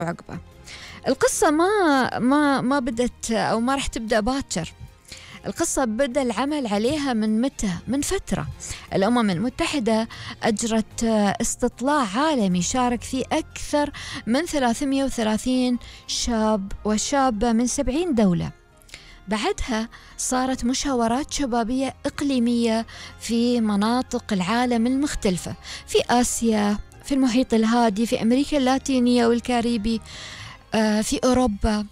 عقبه. القصة ما بدت أو ما راح تبدأ باكر. القصة بدأ العمل عليها من متى؟ من فترة. الأمم المتحدة أجرت استطلاع عالمي شارك فيه أكثر من 330 شاب وشابة من 70 دولة. بعدها صارت مشاورات شبابية إقليمية في مناطق العالم المختلفة، في آسيا، في المحيط الهادي، في أمريكا اللاتينية والكاريبي، في أوروبا،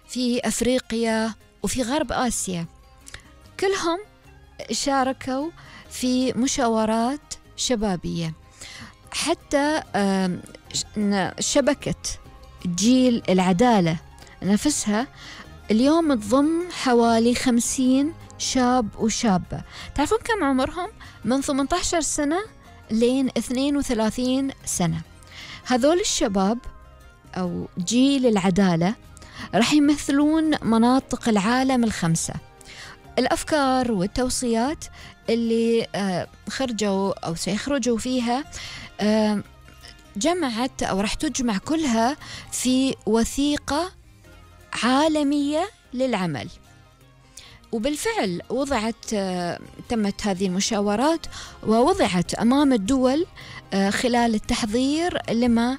في أفريقيا، وفي غرب آسيا. كلهم شاركوا في مشاورات شبابية. حتى شبكة جيل العدالة نفسها اليوم تضم حوالي 50 شاب وشابة. تعرفون كم عمرهم؟ من 18 سنة لين 32 سنة. هذول الشباب أو جيل العدالة رح يمثلون مناطق العالم الخمسة. الأفكار والتوصيات اللي خرجوا أو سيخرجوا فيها جمعت أو رح تجمع كلها في وثيقة عالمية للعمل. وبالفعل تمت هذه المشاورات ووضعت أمام الدول خلال التحضير لما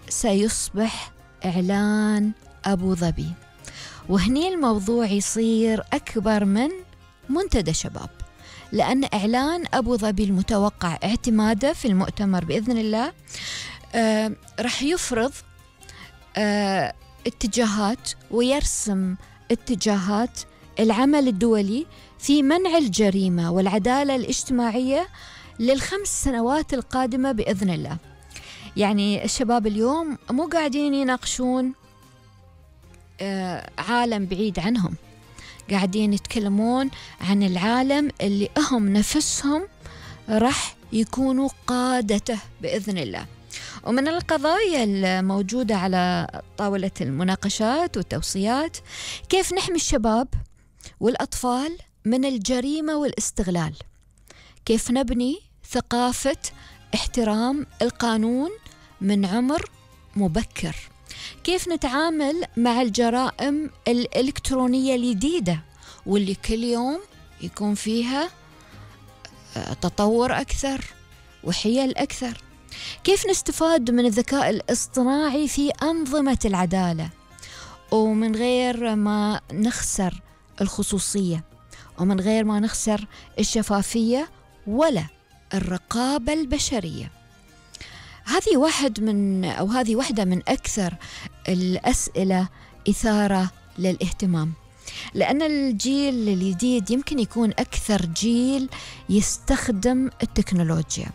سيصبح إعلان أبو ظبي. وهني الموضوع يصير أكبر من منتدى شباب، لأن إعلان أبو ظبي المتوقع اعتماده في المؤتمر بإذن الله رح يفرض اتجاهات ويرسم اتجاهات العمل الدولي في منع الجريمة والعدالة الاجتماعية لل5 سنوات القادمة بإذن الله. يعني الشباب اليوم مو قاعدين يناقشون عالم بعيد عنهم، قاعدين يتكلمون عن العالم اللي هم نفسهم راح يكونوا قادته بإذن الله. ومن القضايا الموجودة على طاولة المناقشات والتوصيات كيف نحمي الشباب والأطفال من الجريمة والاستغلال، كيف نبني ثقافة احترام القانون من عمر مبكر، كيف نتعامل مع الجرائم الإلكترونية الجديدة واللي كل يوم يكون فيها تطور أكثر وحيل أكثر، كيف نستفاد من الذكاء الاصطناعي في أنظمة العدالة ومن غير ما نخسر الخصوصية ومن غير ما نخسر الشفافية ولا الرقابة البشرية. هذه واحدة من أكثر الأسئلة إثارة للاهتمام، لأن الجيل الجديد يمكن يكون أكثر جيل يستخدم التكنولوجيا،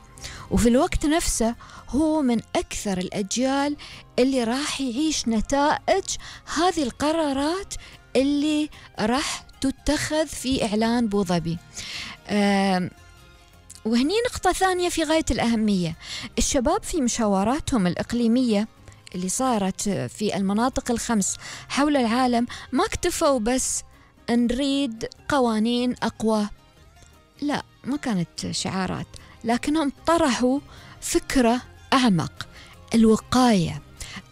وفي الوقت نفسه هو من أكثر الأجيال اللي راح يعيش نتائج هذه القرارات اللي راح تتخذ في إعلان أبو ظبي. وهني نقطة ثانية في غاية الأهمية، الشباب في مشاوراتهم الإقليمية اللي صارت في المناطق ال5 حول العالم ما اكتفوا بس نريد قوانين أقوى، لا، ما كانت شعارات، لكنهم طرحوا فكرة أعمق.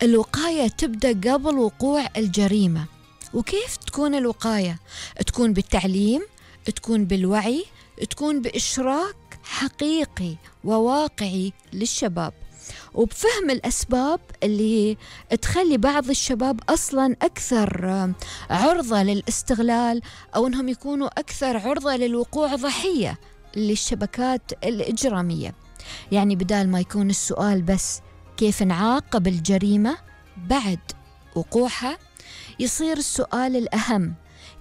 الوقاية تبدأ قبل وقوع الجريمة. وكيف تكون الوقاية؟ تكون بالتعليم، تكون بالوعي، تكون بإشراك حقيقي وواقعي للشباب، وبفهم الأسباب اللي تخلي بعض الشباب أصلا أكثر عرضة للاستغلال أو أنهم يكونوا أكثر عرضة للوقوع ضحية للشبكات الإجرامية. يعني بدال ما يكون السؤال بس كيف نعاقب الجريمة بعد وقوعها، يصير السؤال الأهم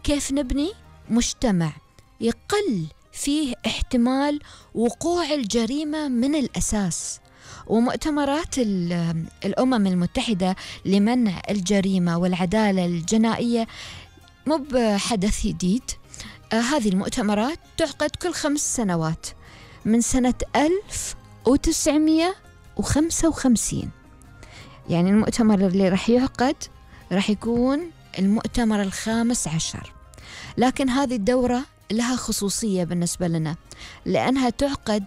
كيف نبني مجتمع يقل فيه احتمال وقوع الجريمة من الأساس. ومؤتمرات الأمم المتحدة لمنع الجريمة والعدالة الجنائية مو بحدث جديد. هذه المؤتمرات تعقد كل 5 سنوات من سنة 1955. يعني المؤتمر اللي راح يعقد راح يكون المؤتمر ال15. لكن هذه الدورة لها خصوصية بالنسبة لنا لأنها تعقد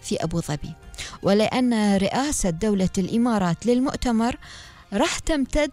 في أبو ظبي، ولأن رئاسة دولة الإمارات للمؤتمر راح تمتد